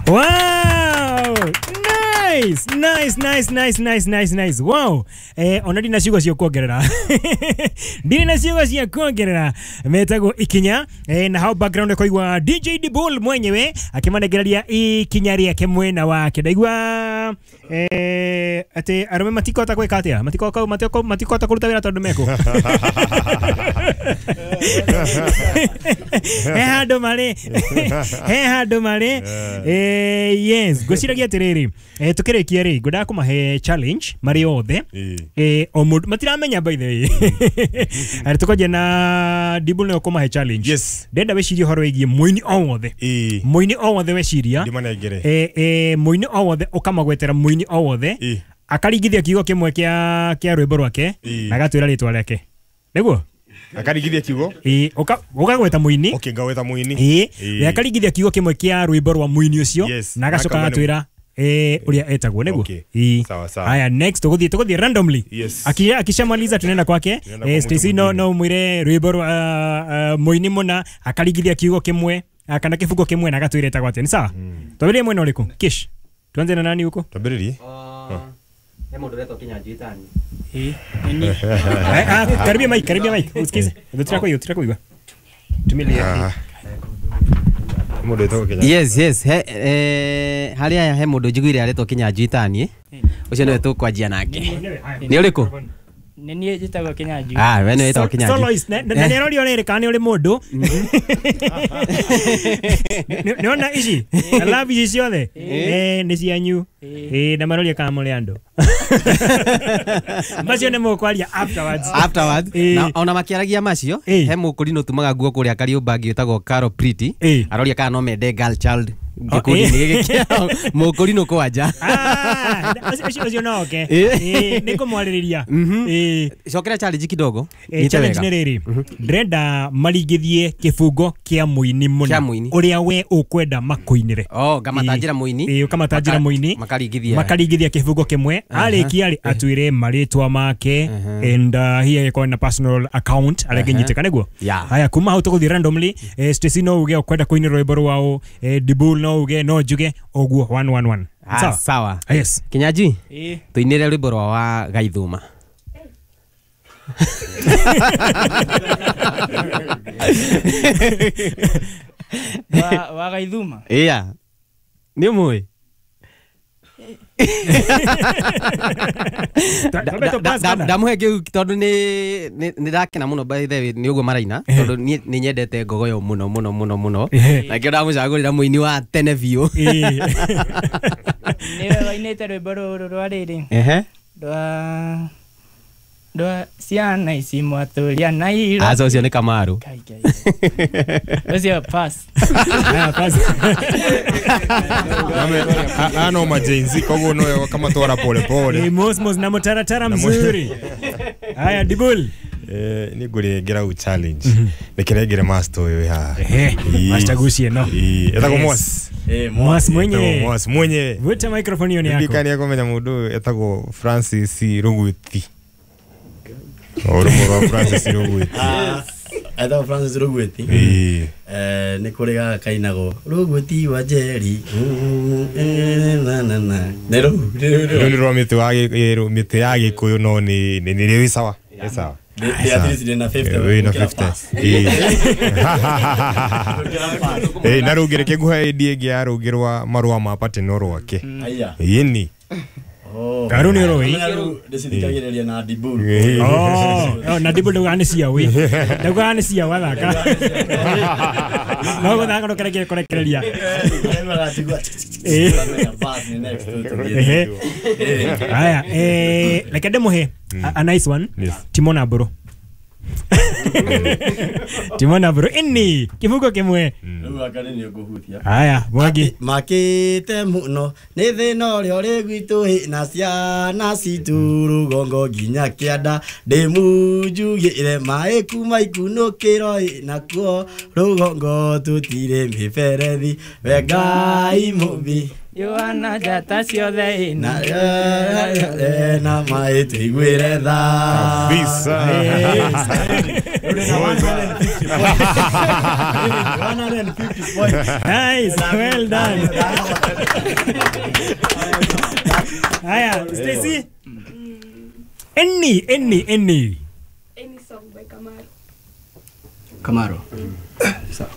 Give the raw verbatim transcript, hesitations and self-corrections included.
Wow! Nice, nice, nice, nice, nice, nice, nice. Wow. Eh, ona ndina ciugo cia kuongerera. Ndina na ciugo cia kuongerera. Metagwo ikinya eh, na hau background koigwa D J Dibul mwenyewe akimanegereria ikinya riake mwena wake. Ndaigua eh ati arume matikota gwika atia? Matikota matikota matikota kuruta wira tondu meko. He handu mari. He handu mari. Eh yes, ngwiciragia atiriri. Eh tukirikia ri ngwendaga kumahe challenge mari othe. Eh o mundu matiramenya by the way. Ari tukonje na Dibul no kumahe challenge. Yes. Ndenda wecirie horo wigie muini o wothe. Muini o wothe weciria. Eh eh muini o wothe ukamagwetera muini o wothe. Akaringithia kiugo kimwe kia kia rwimbo rwake na agatwira ritwa riake. Niguo? Akaringithia kiugo? Eh uka ukagweta muini. Okay, ngaweta muini. Eh akaringithia kiugo kimwe kia rwimbo rwa muini ucio na agacoka agatwira eh uria etagwo niguo. Eh sawa sawa. Haya next tuguthie tuguthie randomly. Yes. Akia akishamaliza tunaenda kwake. Eh Stacy no no mwire rwimbo rwa muini muna akaringithia kiugo kimwe kana kifungo kimwe na agatwira etagwo atia. Ni sawa? Twambiririe mwena uriku? Kish. Tuanze na nani huko? Twambiririe. He mundu retwo Kinyanjui Eh nini? Ah karibia mic, karibia mic. Usikize. Ndio kwa hiyo, kwa hiyo. Tumilia. Mundu etagwo Kinyanjui. Yes, yes. He eh haria he mundu njiguire aretwo Kinyanjui tani. Ucio niwe tukwanjia nake. Ni uriku? Ni nie njitagwo Kinyanjui. Ah, we ni witagwo Kinyanjui. Soloist na ni arorio riri kana ni uri mundu. Niona ici. I love ici ciothe. Eh ni cianyu. Eh na maroria kana muri andu. Macio ni mukwaria afterwards. Afterwards. Na ona makiaragia macio he mukuri tumaga nguo kuria Kariũmba ngĩtagwo Carol Pretty. Aroria kana no mende girl child. Gikundi-inĩ gĩkĩ kĩao mũkũri nũ kwanja. Ah, ũcio ũcio no oke. Eh nĩ kũmwarĩrĩria. Eh cokera challenge kidogo. Challenge nĩ rĩrĩ. Ndĩrenda maringithie kĩbungo kĩa mũini mũna ũrĩa we ũkwenda makũinĩre. Oh, ngamatanjĩra mũini. Eh ũkamatanjĩra mũini. Makaringithia. Makaringithia kĩbungo kĩmwe. Arĩkia rĩ atwĩre marĩtwa make and here ĩkorwo na personal account arĩa ngĩnyitĩka nĩguo. Haya kuma hau tũgũthiĩ randomly. Stacy no uge ũkwenda kũinĩra rwĩmbo rwao, Dibul no uge no njuge oguo one one one. Ah, sawa. Yes. Kinyanjui. Eh. Tuinire rwimbo rwa wa Gaithuma. Wa wa Gaithuma. Iya. Ni umui. Ndamuhe kiu tondu ni ni ndakena muno by the way ni uguo maraina tondu ni ni nyendete ngogoyo muno muno muno muno na kio ndamucagurira muini wa tene biu. Niwe wainite rwimbo ruru rwa riri ehe rwa rwa ciana ici mwatũria na iro. Aca ucio ni Kamaru. Ucio pass. Ah pass. Ano majenzi koguo no kamatwara pole pole. Ni mosmos na mutaratara mzuri. Haya Dibul. Eh ni ngurengera u challenge. Nikiregere master uyu ha. Master gucie no. Eh etagwo Mwas. Eh Mwas mwenye. Mwas mwenye. Vuta microphone hiyo ni yako. Ndikani yako menya mundu etagwo Francis Rugwiti. Orumo rwa Francis Rugwiti. Ah, etagwo Francis Rugwiti. Eh. Eh ni kuri gaka kainagwo Rugwiti wa Njeri. Na na na. Ne ru. Rũ rwa mĩtĩ wa mĩtĩ ya Gĩkũyũ no ni ni ni sawa. Ni sawa. At least ndina fifty. Wĩna fifty. Eh na rũngĩ reke nguhe ĩndĩ ĩngĩ ya rũngĩ rwa marũa ma pateno rwake. Aya. Ĩni. Oh. Karu ni roi. Ndicithikagĩrĩria na Dibul. Oh, na Dibul ndaugaga nĩ cia wĩ. Ndaugaga nĩ cia wathaka. No gũthaka no kĩreke kũrekereria. Haya, eh reke ndĩmũhe a nice one. Timona Mbũrũ. Timona Mbũrũ ini kibugo kimwe. Rĩu aka nĩ ngũhutia. Haya, Mwangi. Makĩte mũno nĩ thĩna ũrĩa ũrĩ gwitũ ĩ na ciana citũ rũgongo nginya kĩanda ndĩmunjugĩre maĩ kuma ikunũkĩro ĩ nakuo rũgongo tũtirĩ mĩberethi we Ngai mũmbi Yohana njata ciothe na na maĩ tũiguĩre tha kabisa. points. one hundred fifty points. Nice, well done. Haya, Stacy. Any, any, any. Any song by Kamaru. Kamaru. Sawa.